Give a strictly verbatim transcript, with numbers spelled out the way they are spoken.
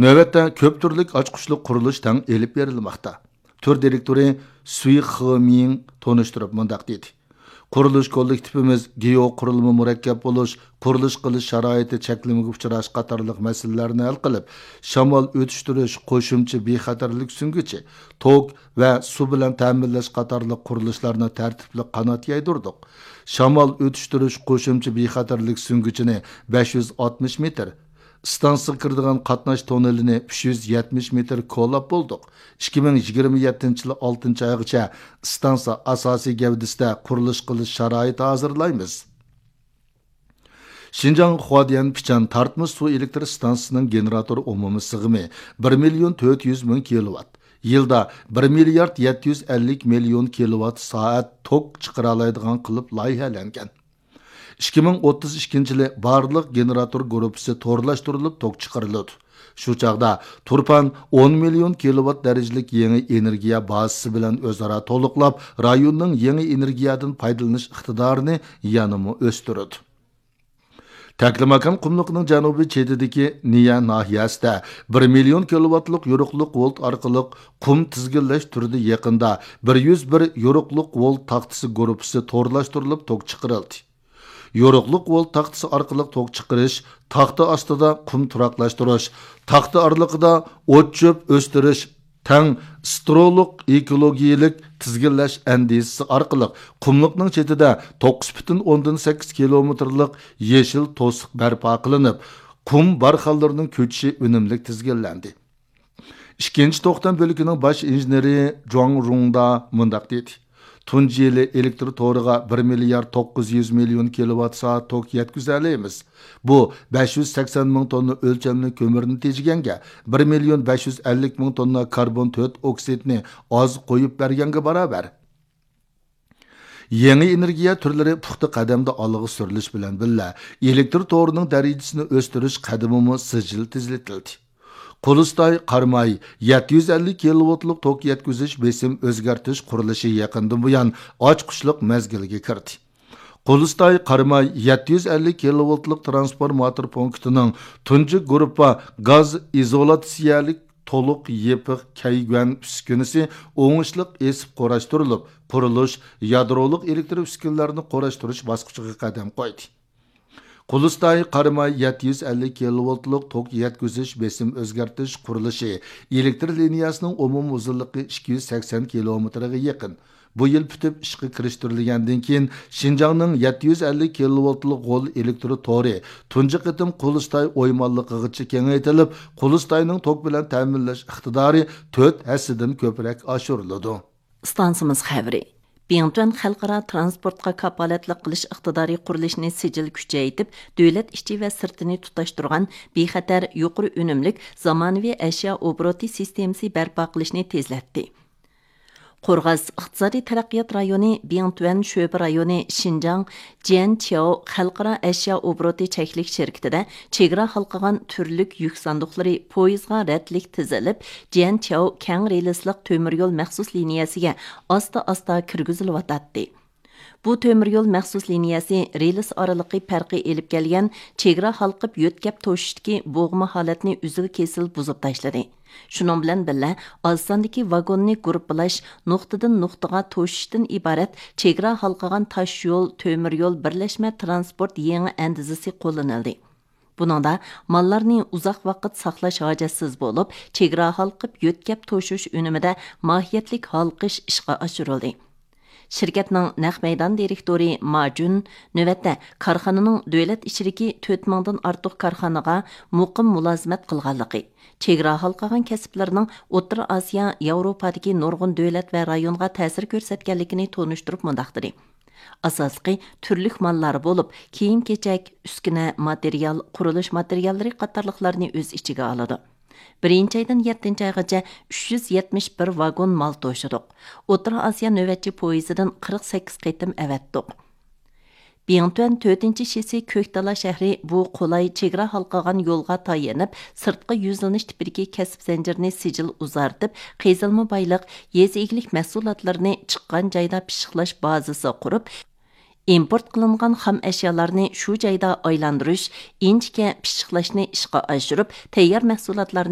نۆۋەتتە كۆپ تۈرلۈك ئاچقۇچلۇق قۇرۇلۇش تەڭ ئېلىپ بېرىلماقتا. تۈر دىرېكتورى سۈي خېمىڭ تونۇشتۇرۇپ مۇنداق دېدى: قۇرۇلۇش كوللېكتىپىمىز گېئوقۇرۇلما مۇرەككەپ بولۇش، قۇرۇلۇش قىلىش شارائىتى چەكلىمىگە ئۇچراش قاتارلىق مەسىلىلەرنى ھەل قىلىپ، شامال ئۆتۈشتۈرۈش قوشۇمچە بىخەتەرلىك سۈڭگۈچى، توك ۋە سۇ بىلەن تەمىنلەش قاتارلىق قۇرۇلۇشلارنى تەرتىپلىك قانات يايدۇردۇق. شامال ئۆتۈشتۈرۈش قوشۇمچە بىخەتەرلىك سۈڭگۈچىنى بەش يۈز ئاتمىش مېتىر، ئىستانسىغا كىرىدىغان قاتناش توننېلىنى ئۈچ يۈز يەتمىش مېتىر كولاپ بولدۇق. ئىككى مىڭ يىگىرمە يەتتىنچى يىلى ئالتىنچى ئايغىچە ئىستانسا ئاساسىي گەۋدىسىدە قۇرۇلۇش قىلىش شارائىتى ھازىرلايمىز. شىنجاڭ خۇاديەن پىچان تارتمىش سۇ ئېلېكتر ئىستانسىسىنىڭ گېنېراتور ئومۇمىي سىغىمى بىر مىليون تۆت يۈز مىڭ كىلوۋات، يىلدا بىر مىليارد يەتتە يۈز ئەللىك مىليون كىلوۋات سائەت توك چىقىرالايدىغان قىلىپ لايىھەلەنگەن. ئىككى مىڭ ئوتتۇز ئىككىنچى يىلى بارلىق گېنېراتور گۇرۇپپىسى تورلاشتۇرۇلۇپ توك چىقىرىلىدۇ. شۇ چاغدا تۇرپان ئون مىليون كىلوۋات دەرىجىلىك يېڭى ئېنېرگىيە بازىسى بىلەن ئۆزئارا تولۇقلاپ، رايوننىڭ يېڭى ئېنېرگىيەدىن پايدىلىنىش ئىقتىدارىنى يەنىمۇ ئۆستۈرىدۇ. تەكلىماكان قۇملۇقىنىڭ جەنۇبىي چېتىدىكى نىيە ناھىيەسىدە بىر مىليون كىلوۋاتلىق يورۇقلۇق ۋولت ئارقىلىق قۇم تىزگىنلەش تۈرىدە يېقىندا بىر يۈز بىر يورۇقلۇق ۋولت تاختىسى گۇرۇپپىسى تورلاشتۇرۇلۇپ توك چىقىرىلدى. يورۇقلۇق ۋولت تاختىسى ئارقىلىق توك چىقىرىش، تاختا ئاستىدا قۇم تۇراقلاشتۇرۇش، تاختا ئارىلىقىدا ئوت-چۆپ ئۆستۈرۈش، تەڭ سترولۇق ئېكولوگىيەلىك تىزگىنلەش ئەندىزىسى ئارقىلىق قۇملۇقنىڭ چېتىدە توققۇز پۈتۈن ئوندىن سەككىز كىلومېتىرلىق يېشىل توسۇق بەرپا قىلىنىپ، قۇم بارخانلىرىنىڭ كۆچۈشى ئۈنۈملۈك تىزگىنلەندى. ئىككىنچى توختام بۆلىكىنىڭ باش ئىنژېنېرى جۇاڭ رۇڭدا مۇنداق دېدى: تۇنجى يىلى ئېلېكتر تورىغا بىر مىليارد توققۇز يۈز مىليون كىلوۋات سائەت توك يەتكۈزەلەيمىز. بۇ بەش يۈز سەكسەن مىڭ توننا ئۆلچەملىك كۆمۈرنى تېجىگەنگە، بىر مىليون بەش يۈز ئەللىك مىڭ توننا كاربون تۆت ئوكسىدنى ئاز قويۇپ بەرگەنگە باراۋەر. يېڭى ئېنېرگىيە تۈرلىرى پۇختا قەدەمدە ئالغا سۈرۈلۈش بىلەن بىللە، ئېلېكتر تورىنىڭ دەرىجىسىنى ئۆستۈرۈش قەدىمىمۇ سىجىل تېزلىتىلدى. قۇلۇستاي قاراماي يەتتە يۈز ئەللىك كىلوۋاتلىق توك يەتكۈزۈش بېسىم ئۆزگەرتىش قۇرۇلۇشى يېقىندىن بۇيان ئاچقۇچلۇق مەزگىلگە كىردى. قۇلۇستاي قاراماي يەتتە يۈز ئەللىك كىلوۋاتلىق ترانسفورماتور پونكىتىنىڭ تۇنجى گۇرۇپپا گاز ئىزولياتسىيەلىك تولۇق يېپىق كەيگۈەن ئۈسكۈنىسى ئوڭۇشلۇق ئېسىپ قۇراشتۇرۇلۇپ، قۇرۇلۇش يادرولۇق ئېلېكتر ئۈسكۈنىلەرنى قۇراشتۇرۇش باسقۇچىغا قەدەم قويدى. قۇلۇستاي قاراماي يەتتە يۈز ئەللىك كىلوۋولتلۇق توك يەتكۈزۈش بېسىم ئۆزگەرتىش قۇرۇلۇشى ئېلېكتر لىنىيەسىنىڭ ئومۇمىي ئۇزۇنلۇقى ئىككى يۈز سەكسەن كىلومېتىرغا يېقىن. بۇ يىل پۈتۈپ ئىشقا كىرىشتۈرۈلگەندىن كېيىن، شىنجاڭنىڭ يەتتە يۈز ئەللىك كىلوۋولتلۇق غول ئېلېكتر تورى تۇنجى قېتىم قۇلۇستاي ئويمانلىقىغىچە كېڭەيتىلىپ، قۇلۇستاينىڭ توك بىلەن تەمىنلەش ئىقتىدارى تۆت ھەسسىدىن كۆپرەك ئاشۇرۇلىدۇ. ئىستانسىمىز خەۋىرى. بىڭتۈەن خەلقئارا ترانسپورتقا كاپالەتلىك قىلىش ئىقتىدارى قۇرۇلۇشىنى سىجىل كۈچەيتىپ، دۆلەت ئىچى ۋە سىرتىنى تۇتاشتۇرغان بىخەتەر، يۇقىرى ئۈنۈملۈك، زامانىۋى ئەشيا ئوبوروتى سىستېمىسى بەرپا قىلىشنى تېزلەتتى. قورغاس ئىقتىسادىي تەرەققىيات رايونى بىڭتۈەن شۆبە رايونى شىنجاڭ جيەنچياۋ خەلقئارا ئەشيا ئوبوروتى چەكلىك شىركىتىدە چېگرا ھالقىغان تۈرلۈك يۈك ساندۇقلىرى، پويىزغا رەتلىك تىزىلىپ، جيەنچياۋ كەڭ رېلىسلىق تۆمۈر يول مەخسۇس لىنىيەسىگە ئاستا-ئاستا كىرگۈزۈلۈۋاتاتتى. بۇ تۆمۈر يول مەخسۇس لىنىيەسى رېلىس ئارىلىقى پەرقى ئېلىپ كەلگەن چېگرا ھالقىپ يۆتكەپ توشۇشتىكى بوغما ھالەتنى ئۈزۈل-كېسىل بۇزۇپ تاشلىدى. شۇنىڭ بىلەن بىللە، ئاز ساندىكى ۋاگوننى گۇرۇپپىلاش، نۇقتىدىن نۇقتىغا توشۇشتىن ئىبارەت چېگرا ھالقىغان تاش يول، تۆمۈر يول بىرلەشمە ترانسپورت يېڭى ئەندىزىسى قوللىنىلدى. بۇنىڭدا ماللارنى ئۇزاق ۋاقىت ساقلاش ھاجەتسىز بولۇپ، چېگرا ھالقىپ يۆتكەپ توشۇش ئۈنۈمىدە ماھىيەتلىك ھالقىش ئىشقا ئاشۇرۇلدى. شىركەتنىڭ نەق مەيدان دىرېكتورى ما جۈن نۆۋەتتە كارخانىنىڭ دۆلەت ئىچىدىكى تۆت مىڭدىن ئارتۇق كارخانىغا مۇقىم مۇلازىمەت قىلغانلىقى، چېگرا ھالقىغان كەسىپلىرىنىڭ ئوتتۇرا ئاسىيا، ياۋروپادىكى نۇرغۇن دۆلەت ۋە رايونغا تەسىر كۆرسەتكەنلىكىنى تونۇشتۇرۇپ مۇنداق دېدى: ئاساسلىقى تۈرلۈك ماللار بولۇپ، كىيىم-كېچەك، ئۈسكۈنە، ماتېرىيال، قۇرۇلۇش ماتېرىياللىرى قاتارلىقلارنى ئۆز ئىچىگە ئالىدۇ. بىرىنچى ئايدىن يەتتىنچى ئايغىچە ئۈچ يۈز يەتمىش بىر ۋاگون مال توشىدۇق. ئوتتۇرا ئاسىيا نۆۋەتچى پويىزىدىن قىرىق سەككىز قېتىم ئەۋەتتۇق. بىڭتۈەن تۆتىنچى شىسى كۆكتالا شەھىرى بۇ قولاي چېگرا ھالقىغان يولغا تايىنىپ، سىرتقا يۈزلىنىش تىپىدىكى كەسىپ زەنجىرىنى سىجىل ئۇزارتىپ، قېزىلما بايلىق، يېزا ئىگىلىك مەھسۇلاتلىرىنى چىققان جايدا پىششىقلاش بازىسى قۇرۇپ، ئىمپورت قىلىنغان خام ئەشيالارنى شۇ جايدا ئايلاندۇرۇش، ئىنچىكە پىششىقلاشنى ئىشقا ئاشۇرۇپ، تەييار مەھسۇلاتلارنى